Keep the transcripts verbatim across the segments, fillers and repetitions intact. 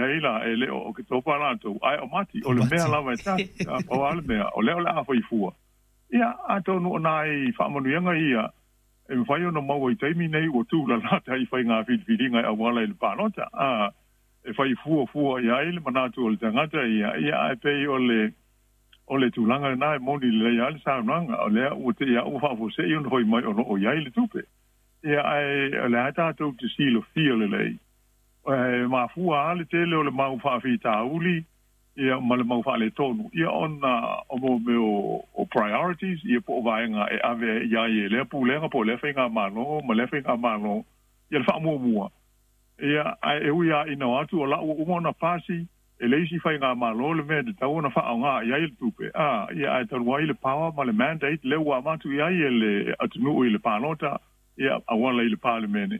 leai la e le o Oketopa latou ae o Mati o le mea lava e tasi pau lava le mea o lea o le a fai fua. Ia atonu o nai faamanuiaga ia e mafai ona maua i taimi nei ua tulalata i faiga filifiliga e auala i le palota a e fai fuafua i ai le manatu o le tagata ia ia ae pei o le o le tulaga lena e moni lelei lava le saunoaga o lea ua te i a ua faafuasei ona fai mai o lo o i ai le tupe. Ia ae o le a tatou te silafia lelei e mafua lava le tele o le mau faafitauli ia ma le mau faaletonu ia ona o mo mea o, o priorities ia po o vaega e ave i ai e lea pulega po o lea faigamalo ma lea faigamalo ia le faamuamua. Ia ae e ui lava ina o atu o lau ua uma ona pasi e le isi faigamalo le mea e tatau ona faaaoga i ai le tupe a ia ae talu ai le power ma le mandate lea ua avatu i ai e le atunuu i le palota ia auala i le Palemene.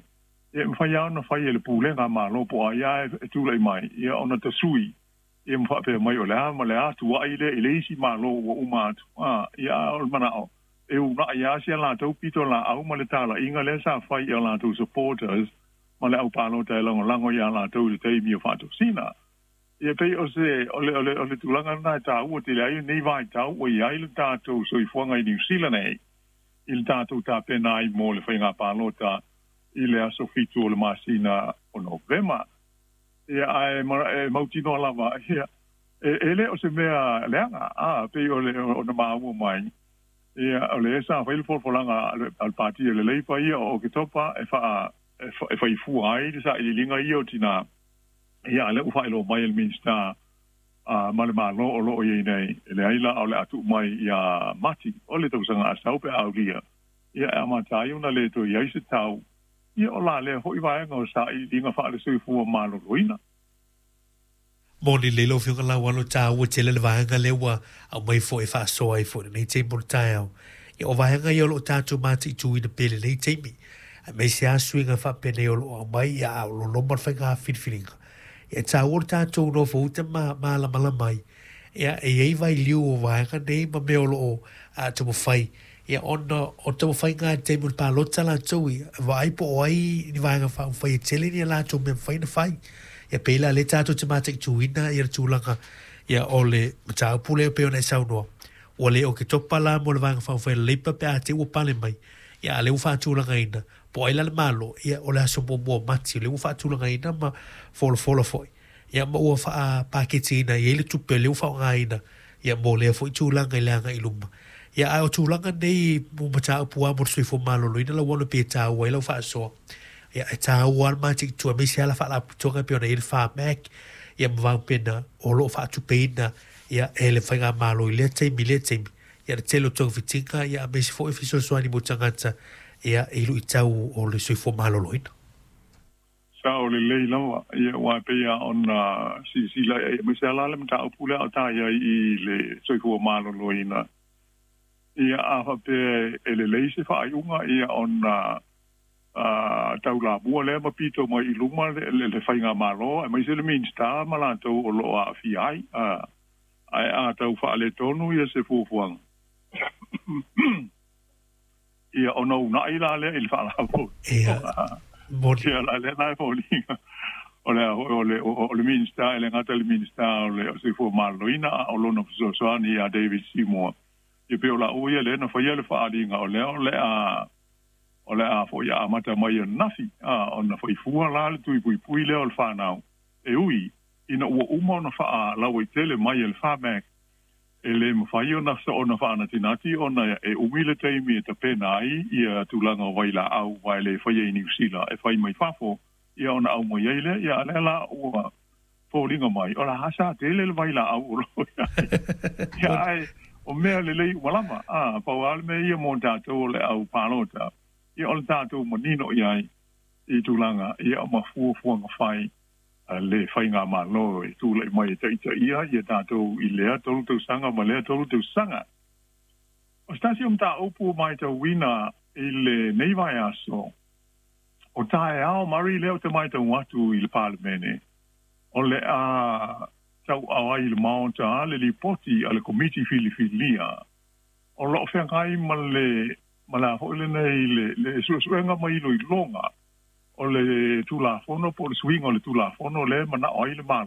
Ia e mafai lava ona fai e le pulega malo po o ai lava e tulai mai ia ona tasui ia ma faapea mai o le a ma le a tuai lea i le isi malo ua uma atu a ia a o le manao e uunai lava si a latou pitolaau ma le talaiga lea sa fai i a latou supporters ma le aupalota e lagolago iā latou i le taimi o faatosina. Ia pei o se o le o le o le tulaga lena e taua tele ai lenei vaitau ua i ai le tatou soifuaga i Niu Sila nei i le tatou tapena ai mo le faiga palota i le aso fitu o le masina o Novema. Ia ae e mautinoa lava ia e, e le o se mea leaga a pei o le ona maua mai ia o le sa fai le folafolaga a le pati o le Leipa ia o Oketopa e faa e faifua ai le sailiiliga ia o tinā. Ia a lea ua faailoa mai e le Minisita a ma le Malo o lo o i ai nei e leai la o le a tuu mai iā Mati o le tausaga a sau pe a aulia ia e amata ai ona le toe i ai se tau ia o la lea foi vaega o sailiiliga faale-soifua maloloina. Moni lelei lau Afioga Laualo, taua tele le vaega lea ua aumai foi e faasoa ai foi i lenei taimi o le taeao. Ia o vaega ia o lo o tatou mataituina pea i lenei taimi, aemaise lava suiga faapenei o lo o aumai ia a o lo o loma le faiga filifiliga. Ia e taua le tatou nofouta ma malamalama ai, ia e i ai vailiu o vaega nei ma mea o lo o taumafai. Ia ona o taumafaiga i le taimi o le palota latou ia, e vaai po o ai ni vaega faaupufai e tele ni a latou mea mafai ona fai. Ia pei la lea tatou te mataituina ia le tulaga ia o le mataupu lea pei ona e saunoa. Ua le Oketopa la mo le Vaega Faaupufai a le Leipa pe a te i ua pale mai. Ia a lea ua faatulagaina po o ai la le Malo, ia o le aso muamua o Mati o lea ua faatulagaina ma folafola foi. Ia ma ua faapaketiina i ai le tupe o lea ua faaaogaina ia mo lea foi tulaga i le agai i luma. Ia ae o tulaga nei mo mataupu lava mo le soifua maloloina lau ona pei e taua ai lau faasoa. Ia e taua lava le mataitu aemaise lava la faalapotopotoga e pei ona i ai le Pharmac ia ma vaupena o lo o faatupeina ia e le faigamalo i lea taimi i lea taimi. Ia le tele o togafitiga ia aemaise foi fesoasoani mo tagata ia i luitau o le soifua maloloina. Sao lelei lava, ia aua e pei lava ona silasila i ai, aemaise lava la le mataupu lea a o ta i ai i le soifua maloloina. Ia a faapea e lelei se faaiuga, ia ona taulamua lea ma pito mai i luma le, le faigamalo aemaise le Minisita ma latou o lo o aafia ai. Ae a tau faaletonu ia se fuafuaga, ia ona uunai la lea i le faalapotopotoga. Ia la lea la e foliga o le o le o le Minisita e le gata i le Minisita o le Soifua Maloloina a o lona fesoasoani ia David Seymour. Ia pei o laua ia lea na faia le faaaliga o lea o le a o le a foi amata mai ananafi a ona faifua la le tui puipui lea o le fanau e ui ina ua uma ona faalauaitele mai e le Pharmac e le mafai ona ona faanatinati ona e umi le taimi e tapena ai ia tulaga o vailaau aua e le faia i Niu Sila e fai mai fafo ia ona aumai ai lea ia a lea la ua foliga mai o la sa tele le vailaau o lo o i ai ia ae o mea lelei uma lava a pau lava le mea ia mo tatou o le au palota ia o le tatou manino i ai i tulaga ia ma fuafuaga fai a le faigamalo e tulai mai e taitaia ia tatou i lea tolu tausaga ma lea tolu tausaga. O se tasi o mataupu ua matauina i lenei vaiaso, o taeao Murray lea ou te matau atu i le Palemene, o le a tauao ai i le Maota le lipoti a le Komiti Filifilia o lo o feagai ma le ma le a foi lenei le le suesuega ma iloiloga o le Tulafono po o le suiga o le Tulafono lea e manao ai le Malo